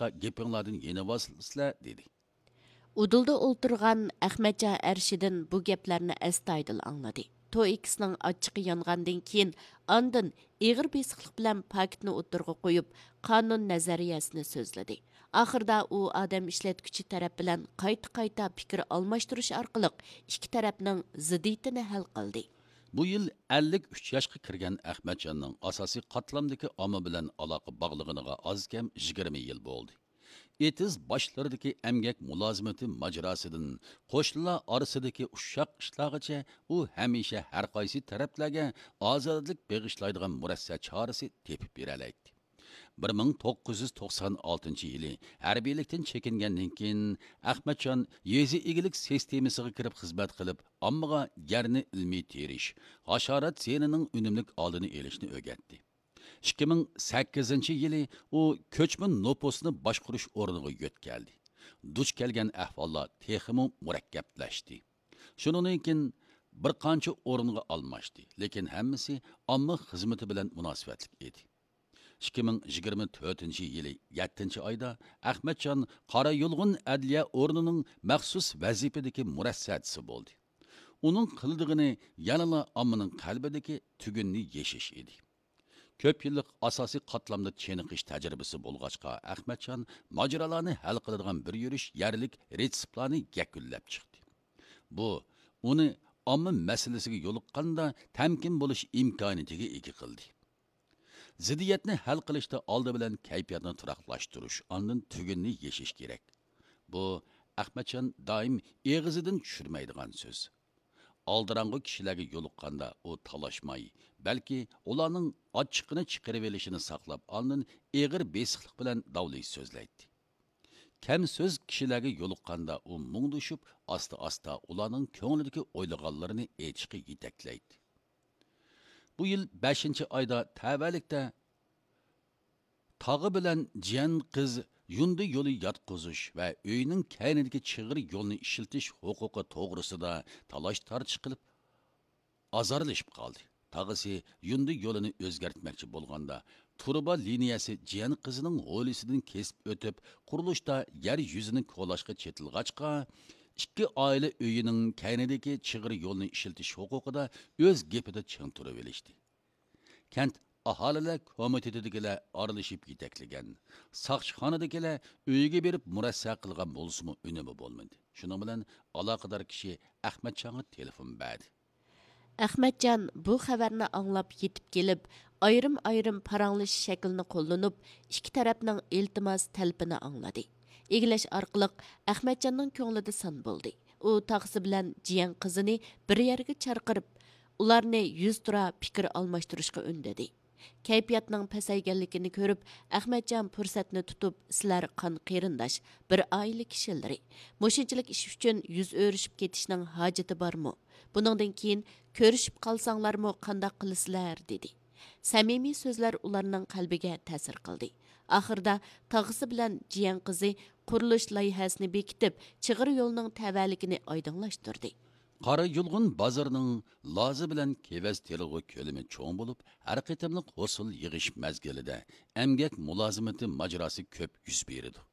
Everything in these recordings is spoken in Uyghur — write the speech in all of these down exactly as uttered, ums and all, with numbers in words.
گېپىڭلاردىن يېنىۋالسىلەر، دېدى. ئۇدۇلدا ئولتۇرغان ئەخمەتجان ئەرشىدىن بۇ گەپلەرنى ئەستايىدىل ئاڭلىدى. توئىكىسنىڭ ئاچچىقى يانغاندىن كېيىن، ئاندىن ئېغىر بېسىقلىق بىلەن پاكىتنى ئوتتۇرىغا قويۇپ، قانۇن نەزەرىيەسىنى سۆزلىدى. ئاخىرىدا ئۇ ئادەم ئىشلەتكۈچى تەرەپ بىلەن قايتا-قايتا پىكىر ئالماشتۇرۇش ئارقىلىق ئىككى تەرەپنىڭ زىددىيىتىنى ھەل قىلدى. بۇ يىل ئەللىك ئۈچ ياشقا كىرگەن ئەخمەتجاننىڭ ئاساسىي قاتلامدىكى ئامما بىلەن ئالاقە باغلىغىنىغا ئاز كەم يىگىرمە يىل بولدى. ئېتىز باشلىرىدىكى ئەمگەك مۇلازىمىتى ماجىراسىدىن قوشنىلار ئارىسىدىكى ئۇششاق ئىشلارغىچە، ئۇ ھەمىشە ھەر قايسى تەرەپلەرگە ئازادىلىك بېغىشلايدىغان مۇرەسسە چارىسى تېپىپ بېرەلەيتتى. بىر مىڭ توققۇز يۈز توقسان ئالتىنچى يىلى ھەربىيلىكتىن چېكىنگەندىن كېيىن، ئەخمەتجان يېزا ئىگىلىك سىستېمىسىغا كىرىپ خىزمەت قىلىپ، ئاممىغا يەرنى ئىلمىي تېرىش، ھاشارات زىيىنىنىڭ ئۈنۈملۈك ئالدىنى ئېلىشنى ئۆگەتتى. ئىككى مىڭ سەككىزىنچى يىلى ئۇ كۆچمە نوپۇسنى باشقۇرۇش ئورنىغا يۆتكەلدى. دۇچ كەلگەن ئەھۋاللار تېخىمۇ مۇرەككەپلەشتى. شۇنىڭدىن كېيىن بىر قانچە ئورۇنغا ئالماشتى، لېكىن ھەممىسى ئامما خىزمىتى بىلەن مۇناسىۋەتلىك ئىدى. ئىككى مىڭ يىگىرمە تۆتىنچى يىلى يەتتىنچى ئايدا ئەخمەتجان قارايۇلغۇن ئەدلىيە ئورنىنىڭ مەخسۇس ۋەزىپىدىكى مۇرەسسەچىسى بولدى. ئۇنىڭ قىلىدىغىنى يەنىلا ئاممىنىڭ قەلبىدىكى تۈگۈننى يېشىش ئىدى. كۆپ يىللىق ئاساسىي قاتلامدا چېنىقىش تەجرىبىسى بولغاچقا، ئەخمەتجان ماجىرالارنى ھەل قىلىدىغان بىر يۈرۈش يەرلىك رېتسېپلارنى يەكۈنلەپ چىقتى. بۇ ئۇنى ئامما مەسىلىسىگە يولۇققاندا تەمكىن بولۇش ئىمكانىيىتىگە ئىگە قىلدى. زىددىيەتنى ھەل قىلىشتا ئالدى بىلەن كەيپىياتنى تۇراقلاشتۇرۇش، ئاندىن تۈگۈننى يېشىش كېرەك. بۇ ئەخمەتجان دائىم ئېغىزىدىن چۈشۈرمەيدىغان سۆز. ئالدىراڭغۇ كىشىلەرگە يولۇققاندا ئۇ تالاشماي، بەلكى ئۇلارنىڭ ئاچچىقىنى چىقىرىۋېلىشىنى ساقلاپ، ئاندىن ئېغىر بېسىقلىق بىلەن داۋلىيىش سۆزلەيتتى. كەم سۆز كىشىلەرگە يولۇققاندا ئۇ مۇڭدىشىپ، ئاستا-ئاستا ئۇلارنىڭ كۆڭلىدىكى ئويلىغانلىرىنى ئېيتىشقا يېتەكلەيتتى. بۇ يىل بەشىنچى ئايدا تەۋەلىكتە تاغا بىلەن جىيەن قىز يۇندى يولى ياتقۇزۇش ۋە ئۆينىڭ كەينىدىكى چىغىر يولنى ئىشلىتىش ھوقۇقى توغرىسىدا تالاش-تارتىش قىلىپ، ئازارلىشىپ قالدى. تاغىسى يۇندى يولىنى ئۆزگەرتمەكچى بولغاندا، تۇرۇبا لىنىيەسى جىيەن قىزىنىڭ ھويلىسىدىن كېسىپ ئۆتۈپ، قۇرۇلۇشتا يەر يۈزىنى كولاشقا چېتىلغاچقا، ئىككى ئائىلە ئۆيىنىڭ كەينىدىكى چىغىر يولنى ئىشلىتىش ھوقۇقىدا ئۆز گېپىدە چىڭ تۇرۇۋېلىشتى. كەنت ئاھالىلەر كومىتېتىدىكىلەر ئارىلىشىپ يېتەكلىگەن، ساقچىخانىدىكىلەر ئۆيىگە بېرىپ مۇرەسسە قىلغان بولسىمۇ ئۈنۈمى بولمىدى. شۇنىڭ بىلەن ئالاقىدار كىشى ئەخمەتجانغا تېلېفون بەردى. ئەخمەتجان بۇ خەۋەرنى ئاڭلاپ يېتىپ كېلىپ، ئايرىم-ئايرىم پاراڭلىشىش شەكلىنى قوللىنىپ، ئىككى تەرەپنىڭ ئىلتىماس تەلىپىنى ئاڭلىدى. ئىگىلەش ئارقىلىق ئەخمەتجاننىڭ كۆڭلىدە سان بولدى. ئۇ تاغىسى بىلەن جىيەن قىزىنى بىر يەرگە چاقىرىپ، ئۇلارنى يۈزتۇرا پىكىر ئالماشتۇرۇشقا ئۈندىدى. كەيپىياتنىڭ پەسەيگەنلىكىنى كۆرۈپ، ئەخمەتجان پۇرسەتنى تۇتۇپ، سىلەر قان قېرىنداش، بىر ئائىلە كىشىلىرى. مۇشۇنچىلىك ئىش ئۈچۈن يۈز ئۆرۈشۈپ كېتىشنىڭ ھاجىتى بارمۇ؟ بۇنىڭدىن كېيىن كۆرۈشۈپ قالساڭلارمۇ قانداق قىلىسىلەر؟ دېدى. سەمىمىي سۆزلەر ئۇلارنىڭ قەلبىگە تەسىر قىلدى. ئاخىرىدا تاغىسى بىلەن جىيەن قىزى قۇرۇلۇش لايىھەسىنى بېكىتىپ، چىغىر يولنىڭ تەۋەلىكىنى ئايدىڭلاشتۇردى. قارايۇلغۇن بازىرىنىڭ لازا بىلەن كېۋەز تېرىلغۇ كۆلىمى چوڭ بولۇپ، ھەر قېتىملىق ھوسۇل يىغىش مەزگىلىدە ئەمگەك مۇلازىمىتى ماجىراسى كۆپ يۈز بېرىدۇ.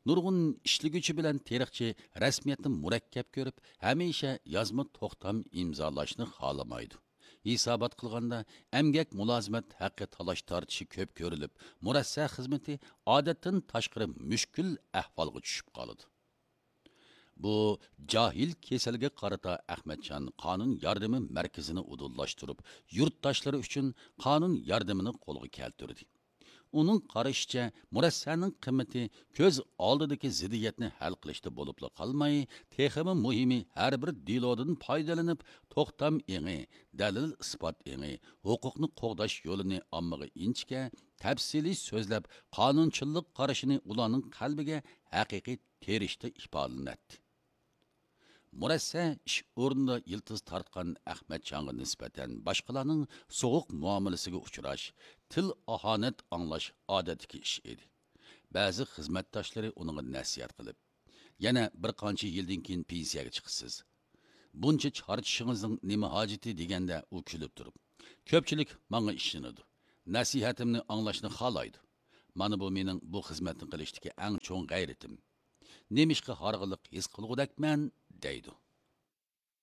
نۇرغۇن ئىشلىگۈچى بىلەن تېرىقچى رەسمىيەتنى مۇرەككەپ كۆرۈپ، ھەمىشە يازما توختام ئىمزالاشنى خالىمايدۇ. ھېسابات قىلغاندا، ئەمگەك مۇلازىمەت ھەققى تالاش-تارتىشى كۆپ كۆرۈلۈپ، مۇرەسسە خىزمىتى ئادەتتىن تاشقىرى مۈشكۈل ئەھۋالغا چۈشۈپ قالىدۇ. بۇ جاھىل كېسەلگە قارىتا ئەخمەتجان قانۇن ياردىمى مەركىزىنى ئۇدۇللاشتۇرۇپ، يۇرتداشلىرى ئۈچۈن قانۇن ياردىمىنى قولغا كەلتۈردى. ئۇنىڭ قارىشىچە، مۇرەسسەنىڭ قىممىتى كۆز ئالدىدىكى زىددىيەتنى ھەل قىلىشتا بولۇپلا قالماي، تېخىمۇ مۇھىمى، ھەر بىر دېلودىن پايدىلىنىپ، توختام ئېڭى، دەلىل-ئىسپات ئېڭى، ھوقۇقنى قوغداش يولىنى ئاممىغا ئىنچىكە، تەپسىلىي سۆزلەپ، قانۇنچىللىق قارىشىنى ئۇلارنىڭ قەلبىگە ھەقىقىي تېرىشتە ئىپادىلىنەتتى. مۇرەسسە ئىش ئورنىدا يىلتىز تارتقان ئەخمەتجانغا نىسبەتەن باشقىلارنىڭ سوغۇق مۇئامىلىسىگە ئۇچراش، تىل ئاھانەت ئاڭلاش ئادەتتىكى ئىش ئىدى. بەزى خىزمەتداشلىرى ئۇنىڭغا نەسىھەت قىلىپ، يەنە بىر قانچە يىلدىن كېيىن پېنسىيەگە چىقىسىز. بۇنچە چارچىشىڭىزنىڭ نېمە ھاجىتى؟ دېگەندە ئۇ كۈلۈپ تۇرۇپ، كۆپچىلىك ماڭا ئىشىنىدۇ. نەسىھەتىمنى ئاڭلاشنى خالايدۇ. مانا بۇ مېنىڭ بۇ خىزمەتنى قىلىشتىكى ئەڭ چوڭ غەيرىتىم. نېمىشقا ھارغىنلىق ھېس قىلغۇدەكمەن؟ دەيدۇ.